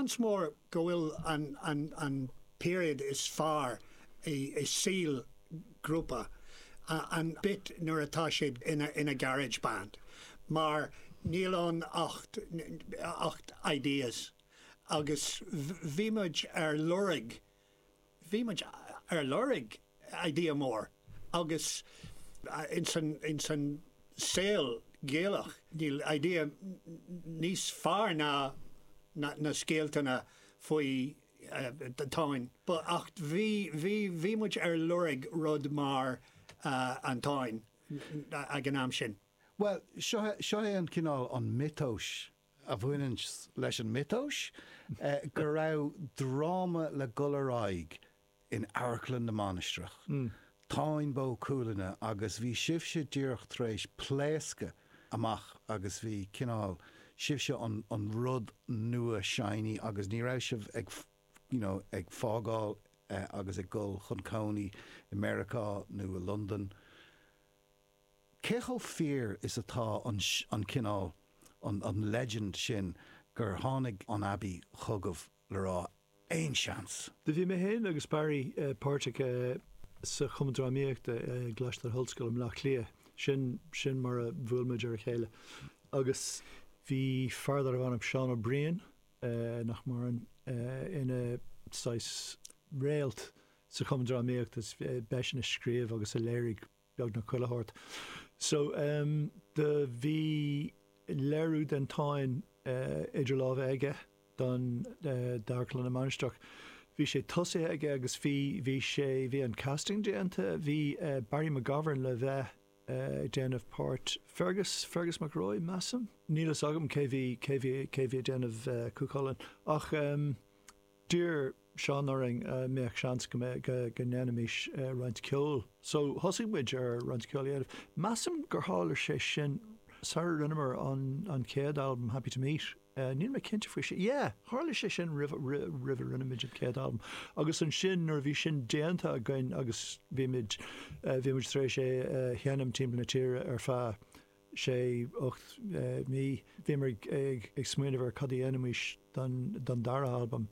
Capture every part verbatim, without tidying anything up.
Seans mór go bhfuil an, an, an period is fearr i, i saol grúpa an bit nuair atá siad ina, ina garage band, mar níl ann ach, ach ideas. Agus bhí muid ar lorg bhí muid ar lorg idea mór agus ins an, ins an saol Gaelach níl idea níos fearr ná na, na scéaltanna faoi uh, Táin. But ach bhí, bhí, bhí muid ar lorg rud mar uh, an Táin ag an am sin. Well, seo seo é an cineál an mythos a bhaineann leis an mythos eh, go raibh dráma le dul ar aghaidh in Amharclann na Mainistreach. Mm. Táin Bó Cúailnge agus bhí sibhse díreach tar éis pléascadh amach agus bhí cineál sibhse an, an rud nua shiny agus ní raibh sibh ag you know, ag fágáil eh, agus ag dul chun cónaí i Meiriceá nó i Londain. Cé chomh fíor is atá an, an cineál an, an legend sin gur tháinig an Abbey chugaibh le rá aon seans? Do bhí mé féin agus Barry uh, páirteach uh, sa Chumann Drámaíochta uh, gColáiste na hOllscoile Bleá Cliath sin sin mar a bhuail muid ar a chéile. Agus bhí fear darbh ainm Seán Ó Briain uh, nach maireann uh, ina saghas réalt sa Chumann Drámaíochta b'eisean a scríobh agus a léirigh beagnach chuile shórt. So um, do bhí léiriú den Táin uh, idir lámha aige don uh, d'Amharclann na Mainistreach. Bhí sé tosaithe aige agus bhí bhí sé bhí an casting déanta, bhí uh, Barry McGovern le bheith uh, déanamh páirt Fergus Fergus McRoy measaim. Níl a fhios agam cé bhí cé bhí cé bhí déanamh uh, Cú ach um, d'iarr Seán orainn uh, mbeadh seans go go, go ndéanfaimis uh, roinnt ceoil. So thosaigh muid ar roinnt ceoil dhéanamh. Measaim gur tharla sé sin sar rinneamar an, an chéad album Happy to Meet. Uh, níl mé cinnte faoi sé. Yeah, tharla sé sin roimh roimh a rinne muid an chéad album. Agus ansin nuair bhí sin déanta againn agus bhí muid uh, bhí muid tar éis é uh, sheinm timpeall na tíre ar feadh sé ocht uh, mí bhí ag, ag, ag smaoineamh ar cad a dhéanfaimis don, don dara album.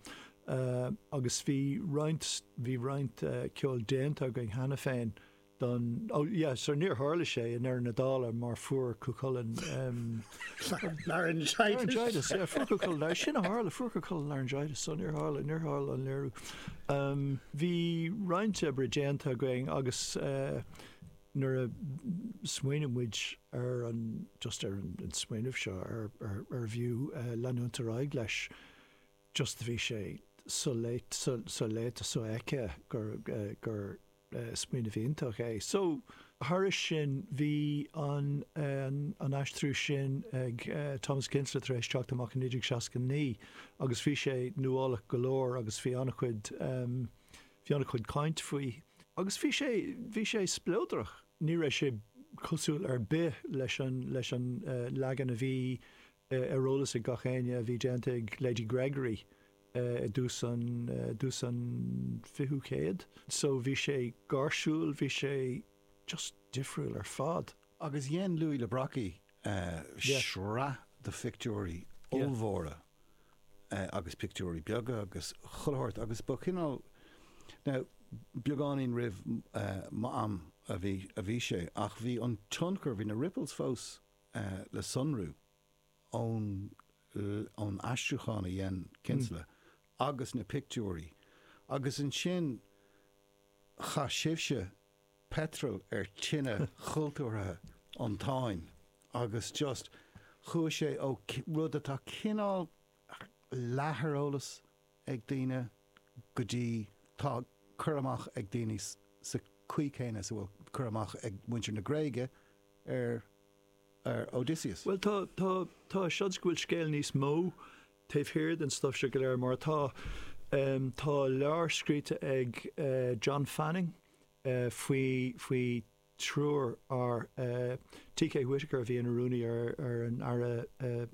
Uh, agus bhí roinnt bhí roinnt uh, ceol déanta againn cheana féin don oh yeah so níor tharla sé i ndeireadh na dála mar fuair Cú Chulainn um, laryngitis. laryngitis yeah, fuair Cú Chulainn sin a tharla fuair Cú Chulainn laryngitis so níor tharla níor tharla an léiriú. Um, bhí roinnt oibre déanta againn agus uh, nuair a smaoinigh muid ar an just ar an, an smaoineamh seo ar, ar, ar bhfiú uh, leanúint ar aghaidh leis just bhí sé so-léite so-léite so-fheicthe gur uh, gur uh, smaoineamh iontach é. So thairis sin bhí an, an, an aistriú sin ag uh, Thomas Kinsella tar éis teacht amach in naoi déag seasca naoi agus bhí sé nuálach go leor agus bhí an-chuid um, bhí an-chuid caint faoi. Agus bhí sé bhí sé spleodrach. Ní raibh sé cosúil ar bith leis an leis an uh, leagan a bhí uh, ar eolas ag gach éinne a bhí déanta ag Lady Gregory uh, i dtús an uh, dtús an fichiú céad. So bhí sé gáirsiúil, bhí sé just difriúil ar fad. Agus dhein Louis le Brocquy uh, Yeah. sraith de phictiúirí Yeah. ollmhóra uh, agus pictiúirí beaga agus chuile shórt agus ba cineál now beagáinín roimh uh, m'am a bhí a bhí sé ach bhí an tionchar bhí na ripples fós uh, le sonrú ón ón aistriúchán a dhein Kinsella agus na pictiúirí agus ansin chaith sibhse petrol ar tine chultúrtha an Táin agus just chuaigh sé ó rud atá cineál leath ar eolas ag daoine go dtí tá cur amach ag daoine sa chaoi chéanna sa bhfuil cur amach ag muintir na Gréige ar ar Odysseus. Well tá tá tá seans go bhfuil scéal níos mó taobh thiar den stuff seo go léir mar tá um, tá leabhar scríte ag uh, John Fanning uh, faoi faoi triúr ar uh, T.K. Whitaker a bhí ina rúnaí ar ar an aire uh,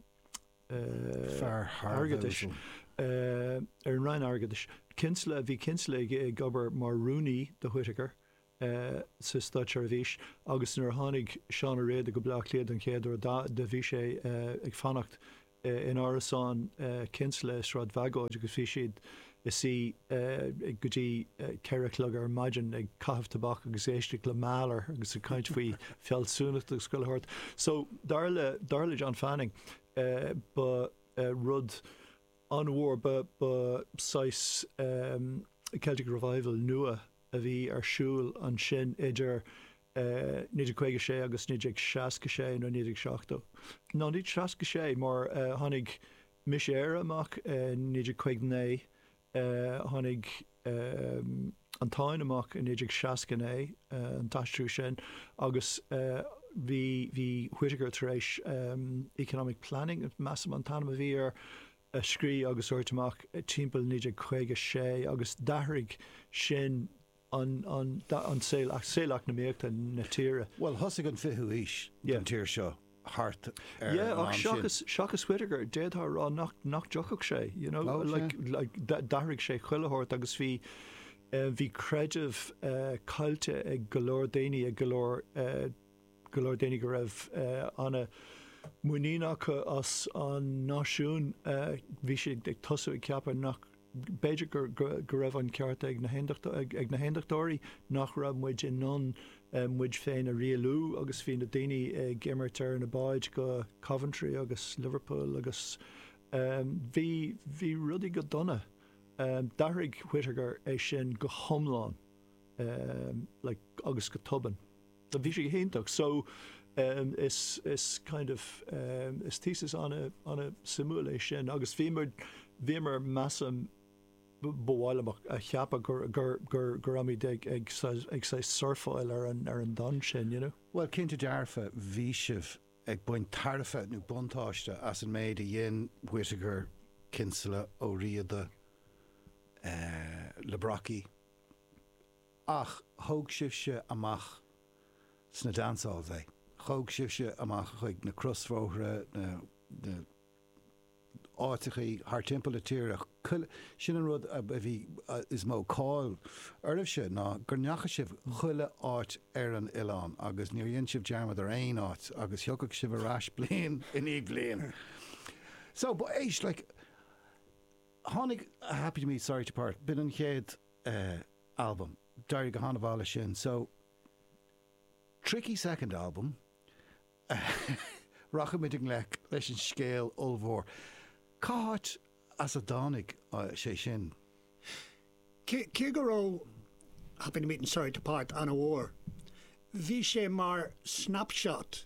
uh, Fear airgeadais uh, ar an Roinn Airgeadais. Kinsella bhí Kinsella ag ag obair mar rúnaí do Whitaker uh, sa státseirbhís agus nuair a tháinig Seán Ó Riada go Bleá Cliath den chéad uair do bhí sé uh, ag fanacht in árasán Kinsella i Sráid Bhagóid agus bhí siad ina suí go dtí ceithre a chlog ar maidin ag caitheamh tobac agus éisteacht le Mahler agus ag caint faoi fealsúnacht agus chuile shórt. So dar le dar le John Fanning ba rud an-mhór ba ba saghas um, Celtic Revival nua a bhí ar siúl ansin idir uh, naoi déag caoga sé agus naoi déag seasca sé nó naoi déag seachtó. Ná naoi déag seasca sé mar uh, tháinig Mise Éire amach uh, naoi déag caoga naoi uh, tháinig um, an Táin amach i naoi déag seasca naoi uh, an t-aistriú sin agus uh, bhí bhí Whitaker tar éis um, economic planning measaim an t-ainm a bhí air a scríobh agus thabhairt amach timpeall naoi déag caoga sé agus d'athraigh sin an, an, an saol saol eacnamaíochta na tíre. Well thosaigh an fichiú haois an tír seo thart ar Yeah, ach seachas seachas Whitaker d'fhéadfá rá nach nach dtiocfadh sé, you know, oh, like, like, d'athraigh sé chuile shórt agus bhí uh, bhí creideamh uh, caillte ag go leor daoine ag go leor uh, go leor daoine go raibh uh, ana muinín acu as an náisiún uh, bhí siad ag tosú ag ceapadh nach b'fhéidir gur go raibh an ceart ag na ag na haontachtóirí nach raibh muid in ann uh, muid féin a rialú agus bhí na daoine ag imirt ar na báid go Coventry agus Liverpool agus um, bhí bhí rudaí go dona. Um, D'athraigh Whitaker é sin go hiomlán um, like, agus go tobann. Bhí sé iontach so um, is is kind of um, is thesis ana ana suimiúil é sin agus bhíomar bhíomar measaim bhhaile a cheapadh gur gur gur gur raibh ag ag ag sé surfáil ar an ar an domhan sin, you know? Well cinnte dearfa bhí sibh ag baint tairbhe nó buntáiste as an méid a dhein Whitaker Kinsella Ó Riada uh, le Brockie. Ach thóg sibhse amach sna dance halls é. Thóg sibhse amach chuig na crosbhóithre na, na áiteachaí thar timpeall na tíre sin an rud a bhí is mó cáil oraibhse ná gur ndeachaigh sibh chuile áit ar an oileán agus níor dhein sibh dearmad ar aon áit agus thiocfadh sibh ar ais bliain i ndiaidh bliain. So but éist like tháinig Happy to Meet Sorry to Part b'in an chéad uh, album d'éirigh go han-mhaith sin so tricky second album rachaimid i ngleic leis an scéal ollmhór. Cá háit as a dtáinig sé sin? Cé go raibh Happy to Meet and Sorry to Part an-mhór. Bhí sé mar snapshot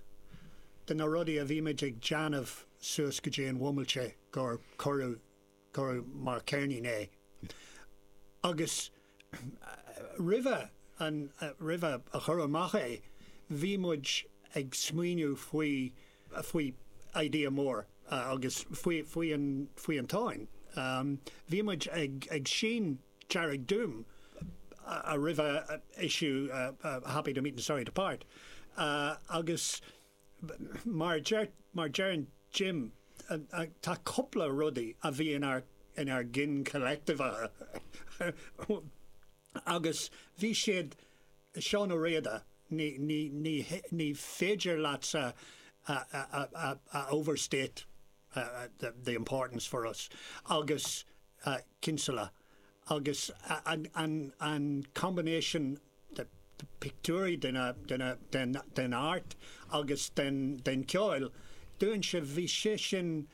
de na rudaí a bhí muid ag déanamh suas go dtí an bhomaite gur cuireadh cuireadh mar ceirnín é. Agus roimhe an roimhe a chur amach é, bhí muid ag smaoineamh faoi faoi idea mór uh, agus faoi faoi an faoi an Táin. Um, bhí muid ag ag sín Dearg Doom a roimhe issue uh, uh, Happy to Meet and Sorry to Part. Uh, agus mar deir mar deireann Jim uh, uh, tá cúpla rudaí a bhí in ár in ár gcinn collective agus bhí siad Seán Ó Riada ní ní ní ní féidir leatsa a, a, a, a overstate uh, the, the importance for us agus uh, Kinsella agus an, an, an combination the, the pictiúirí den, den, den, den art agus den, den ceoil dúinn se bhí sé sin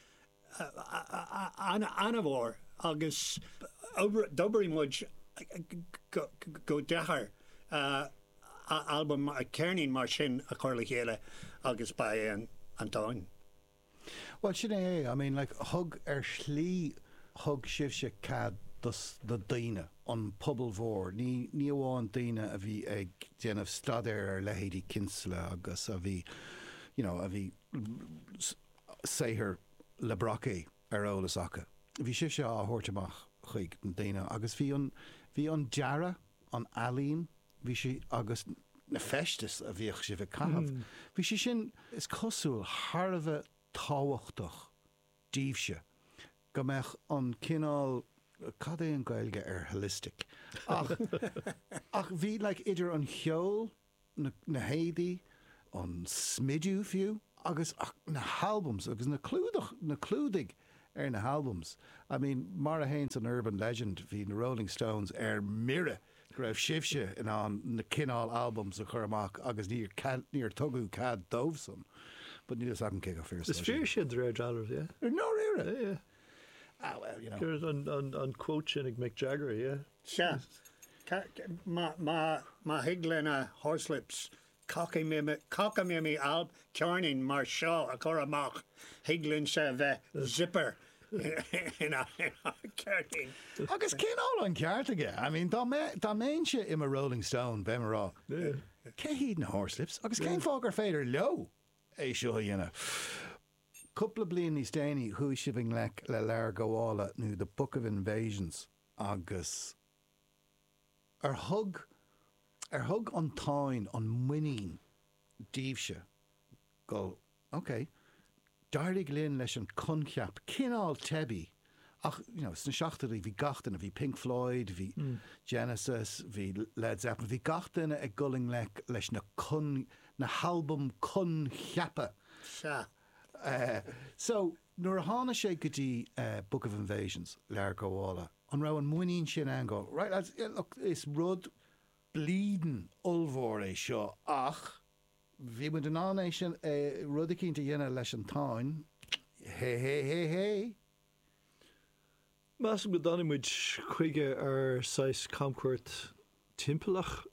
an-mhór agus d'oibrigh muid go, go deacair uh, album a ceirnín mar sin a chur le chéile agus ba é an, an Táin. Well sin é, I mean like thug ar shlí thug sibhse cead dos na daoine an pobal mhór, ní ní amháin daoine a bhí ag déanamh staidéar ar leithéidí Kinsella agus a bhí you know, a bhí saothar Le Brocquy ar eolas acu. Bhí sibhse á thabhairt amach chuig na daoine agus bhí an bhí an dearadh an ealaín bhí sé agus na feistis a bhíodh sibh ag caitheamh. Mm. Bhí sé sin is cosúil thar a bheith tábhachtach daoibhse go mbeadh an cineál cad é an Gaeilge ar holistic. Ach, ach bhí like, idir an cheol na, na héadaí an smidiú fiú Agus na halbums agus na clúdach na clúdaigh ar na halbums. I mean, mar a théann an urban legend bhí na Rolling Stones ar mire go raibh sibhse in ann na cineál albums a chur amach agus níor níor tugadh cead dóibhsan. But níl a cé go fíor. Is fíor sin de réir dealraimh, yeah. No yeah. Ah, well, you know. There's an, an, an quote sin ag Mick Jagger, yeah. Sea. Má má má thig le na Horslips cockamamie alb ceirnín mar seo a chur amach thig linnse bheith zipper ina ceirnín. Agus cineál an ceart aige. I mean, dá mbeinnse i mo Rolling Stone bheinn ag rá. Cé hiad na Horslips agus cén fáth gur féidir leo é seo a dhéanamh. Cúpla bliain níos déanaí chuaigh sibh i ngleic le Leabhar Gabhála nó The Book of Invasions agus ar thug ar thug an Táin an muinín daoibhse go ok, d'éirigh linn leis an coincheap cineál teibí ach you know, sna seachtóidí bhí gach duine, bhí Pink Floyd, bhí mm. Genesis, bhí Led Zeppelin, bhí gach duine ag dul i ngleic leis na con, na halbum coincheapa. Sea. Uh, so nuair a tháinig sé go dtí uh, Book of Invasions Leabhar Gabhála, an raibh an muinín sin ann go, right lads, yeah, look, is rud bleeding ollmhór é seo ach bhí muid in ann é sin uh, rud eicínt a dhéanamh leis an Táin. Hé hé hé hé. Measaim go dtáinig muid chuige ar saghas camchuairt timpeallach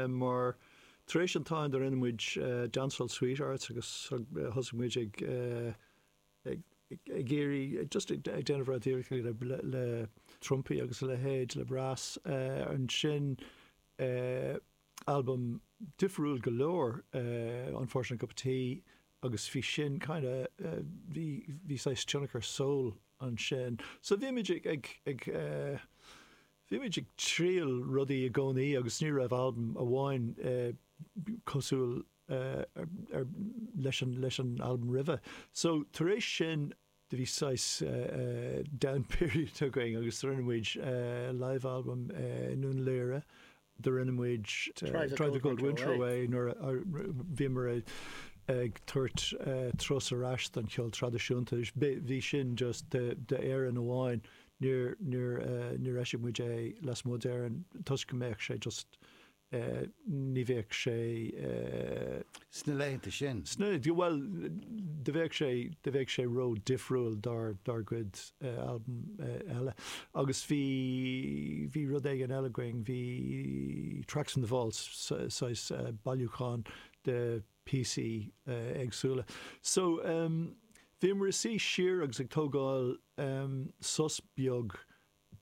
mar tar éis an Táin do rinne muid Dancehall Sweethearts agus thosaigh muid ag ag iarraidh just ag déanamh rud le le trumpaí agus a leithéid le brass ansin album difriúil go leor Unfortunate Cup of Tea agus bhí sin kind of bhí bhí saghas tionchar soul ansin. So bhí muid ag ag ag bhí muid ag triail rudaí i gcónaí agus ní raibh album amháin cosúil ar leis an leis an album roimhe. So tar éis sin do bhí saghas down period againn agus rinne muid live album i nDún Laoghaire do rinne muid Try the Cold Winter Away nuair a bhíomar ag tabhairt turas ar ais don cheol traidisiúnta. Bhí sin just d'Éirinn amháin níor níor níor eisigh muid é lasmuigh d'Éirinn toisc go mbeadh sé just ní bheadh sé Sna laethanta sin. Sna well do bheadh sé do bheadh sé ró difriúil dár dár gcuid album eile. Agus bhí bhí rud éigin eile againn, bhí Tracks from the Vaults saghas bailiúchán de píosaí éagsúla. So um, bhíomar ag suí siar agus ag tógáil um, sos beag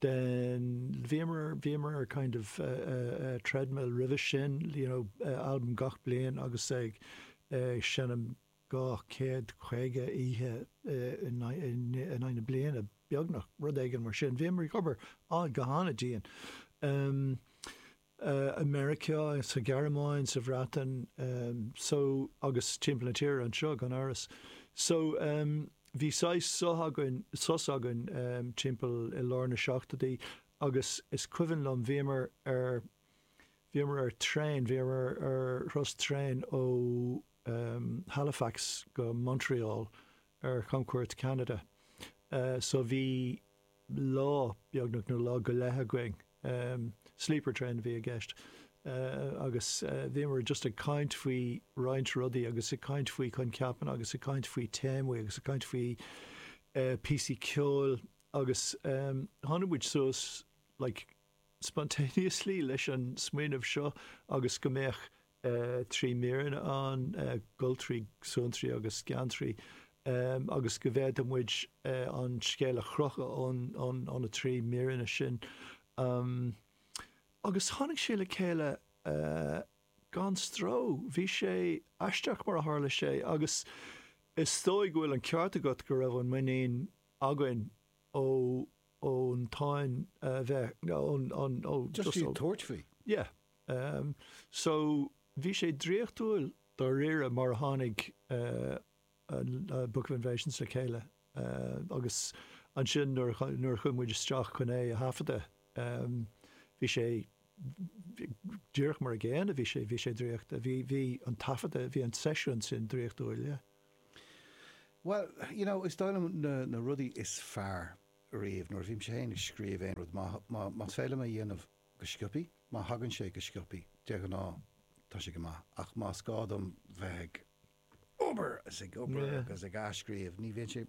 den bhíomar bhíomar ar kind of uh, uh, treadmill roimhe sin, you know, uh, album gach bliain agus ag uh, seinm dhá chéad caoga oíche in aghaidh na bliana beagnach rud éigin mar sin. Bhíomar ag obair á go han-dian. Um, uh, America sa Ghearmáin sa Bhreatain um, so agus timpeall na tíre anseo gan amhras. So um, bhí saghas sos againn sos againn um, timpeall i lár na seachtóidí agus is cuimhin liom bhíomar ar bhíomar ar traein, bhíomar ar thuras traein ó um, Halifax go Montreal ar chamchuairt Canada. Uh, so bhí lá beagnach nó lá go leith againn. Um, sleeper train a bhí i gceist. Uh, agus uh, bhíomar just ag caint faoi roinnt rudaí agus ag caint faoi coincheapanna agus ag caint faoi téamaí agus ag caint faoi uh, píosaí ceoil agus um, tháinig muid suas like, spontaneously leis an smaoineamh seo agus go mbeadh uh, trí míreanna ann, uh, goltraí, suantraí agus geantraí, um, agus go bhféadfadh muid uh, an scéal a chrochadh ón, ón, ón na trí míreanna sin. Um, agus tháinig sé le chéile uh, gan stró. Bhí sé aisteach mar a tharla sé agus is dóigh go bhfuil an ceart agat go raibh an muinín againn ó ón Táin uh, bheith ón ón ó Just bhí tabhairt faoi. Yeah. Um, so bhí sé draíochtúil dáiríre mar a tháinig uh, an uh, Book of Invasions le chéile. Uh, agus ansin nuair nuair a chuaigh muid isteach chun é a thaifeadadh, um, bhí sé díreach mar a gcéanna, bhí sé bhí sé draíochta, bhí bhí an taifeadadh, bhí an seisiún sin draíochtúil, yeah. Well, you know, is dóigh liom na, na rudaí is fearr riamh nuair a bhímse féin ag scríobh aon rud má, má, más féidir liom a dhéanamh go sciobtha, má thagann sé go sciobtha, de ghnáth tá sé go maith, ach más gá dom bheith ag obair is ag obair Yeah. agus ag athscríobh, ní bhíonn sé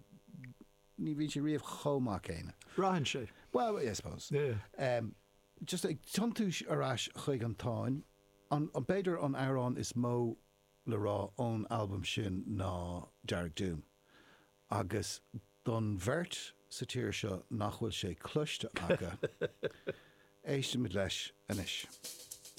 ní bhíonn sé riamh chomh maith céanna. Braitheann sé. Well, I suppose. Yeah. Um, just ag tiontú ar ais chuig an Táin, an, an b'fhéidir an amhrán is mó le rá ón albam sin ná Dearg Doom. Agus don bheirt sa tír seo nach bhfuil sé cloiste acu, éistimid leis anois.